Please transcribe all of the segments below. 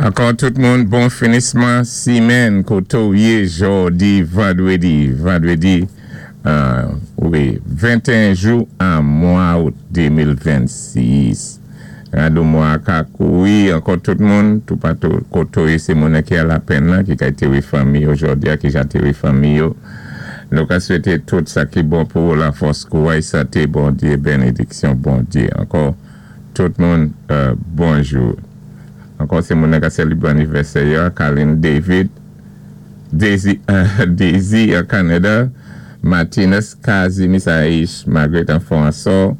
Ankò tout moun, bon finisman simenn koté-w yé jòdi vandwédi, wi, 21 jou an mwa out 2026. Rado mwa ka kouri. Ankò tout moun, toupatou koté-w yé, sé moun ki a lapenn lan, ki ka téwé fanmi yo jòdi a, ki ja téwé fanmi yo. Nou ka swété tout sa ki bon pou ou, lafòs, kouway, santé Bondyé, bénédiksyon Bondyé. Ankò tout moun, bonjou. Ankò sé moun ka sélébwé anivèsè yo, Colin David, Daisy, Daisy an Canada, Martinez Casimir Saïch, Margaret François,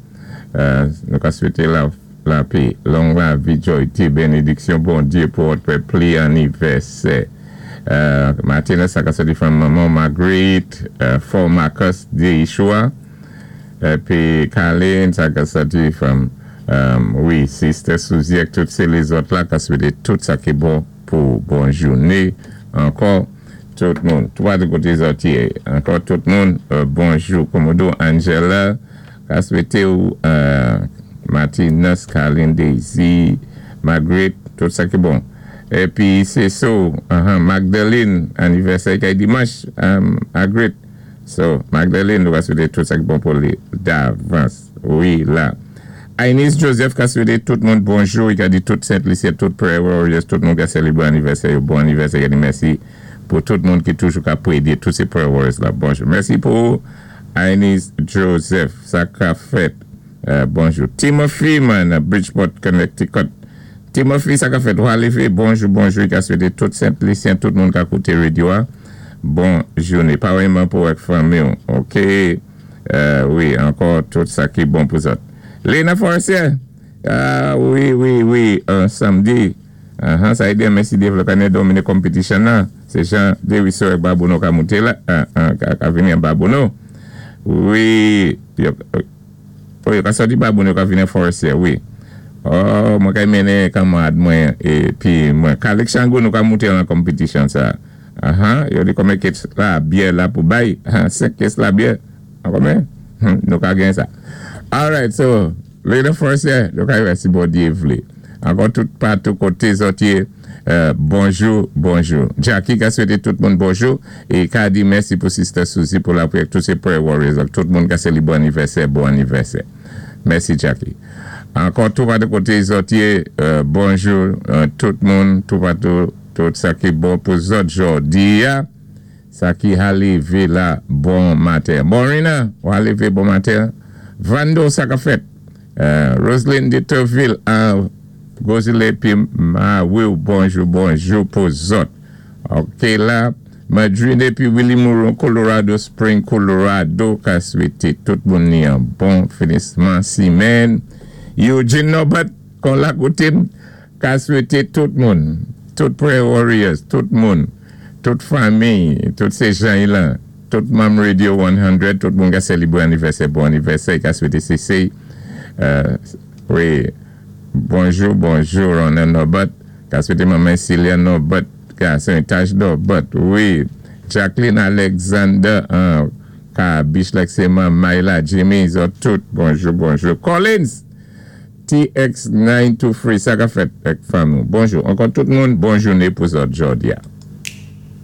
nou ka swété lapè, long lavi, joyté, bénédiksyon Bondyé pou wòt pli anivèsè. Martinez, sa ka sòti from manman Margaret, For Marcus Deishua, épi Colin, sa ka sòti from, wi, Sister Suzy, ak tout sé lézòt la, ka swété tout sa ki bon pou bon jouné. Ankò, tout moun, toupatou koté zòt yé. Ankò tout moun, bonjou. Komodo Angela, ka swété ou, Martinez, Colin, Daisy, Margaret, tout sa ki bon. Épi sé so, Magdalene, anivèsè kay dimanch, Margaret. So, Magdalene, nou va swété tout sa ki bon pou li davans. Wi, la. Ainis Joseph ka swété tout moun bonjou, i ka di tout Sent Lisi, tout Prayer Warriors, tout moun ka sélébwé anivèsè yo, bon anivèsè, i ka di mèsi pou tout moun ki toujou ka pwédé, tout sé Prayer Warriors la, bonjou. Mèsi pou Ainis Joseph, sa ka fèt, bonjou. Timothy man, Bridgeport, Connecticut. Timothy, sa ka fèt, wa lévé, bonjou, bonjou, i ka swété tout Sent Lisyen, tout moun ka kouté radyo a, bon jouné. Pawèyman pou ak fanmi ou, ok, wi, ankò tout sa ki bon pou zòt. Lena Forestier, ah, wi, samdi, sa yé denmen si Dyé vlé ka domine competition nan, sé jan Desruisseaux ak Babonneau ka mouté la, ka vini an Babonneau. Wi, yo, oh, yo ka sòti Babonneau, ka vini an Forestier, wi. Oh, mwen kay mennen kanmarad mwen épi mwen Kalik Chango nou ka mouté lan competition sa. Yo di konbyen kes labyè la pou bay? 5 kes labyè. An konbyen? Nou ka gen sa. Alright, so, Lena Forestier, nou ka wè si Bondyé vlé. Ankò tout patou koté zòt yé, bonjou, bonjou. Jackie ka swété tout moun bonjou é ka di mèsi pou Sister Suzy pou lapwiyè tout sé Prayer Warriors ak tout moun ka sélébwé anivèsè, bon anivèsè. Mèsi Jackie. Ankò toupatou koté zòt yé, bonjou tout moun, toupatou, tout sa ki bon pou zòt jòdi a, sa ki ha lévé la bon maten. Bon Rina, ou ha lévé bon maten. Vando, sa ka fèt? Roseline de Turville, Gozile épi Mawiw, bonjou, bonjou pou zòt. Ok la, Madrine épi Willy Mouron, Colorado Spring, Colorado, ka swété tout moun ni an bon finisman simenn. Eugene Norbert, kon la koté ka swété tout moun, tout Prayer Warriors, tout moun, tout fanmi, tout sé jan lan, tout manm Radio 100, tout moun ka sélébwé anivèsè, bon anivèsè, ka swété sé, wi, bonjou, bonjou, Ronald Norbert, ka swété manman Celia Norbert, ka sé Taj Norbert, wi, Jacqueline Alexander, ka Bichlek sé Mayla, Jimmy, zòt tout, bonjou, bonjou. Collins, TX923, sa ka fèt ak fanmi. Bonjou. Ankò tout moun, bon jouné pou zòt jòdi a.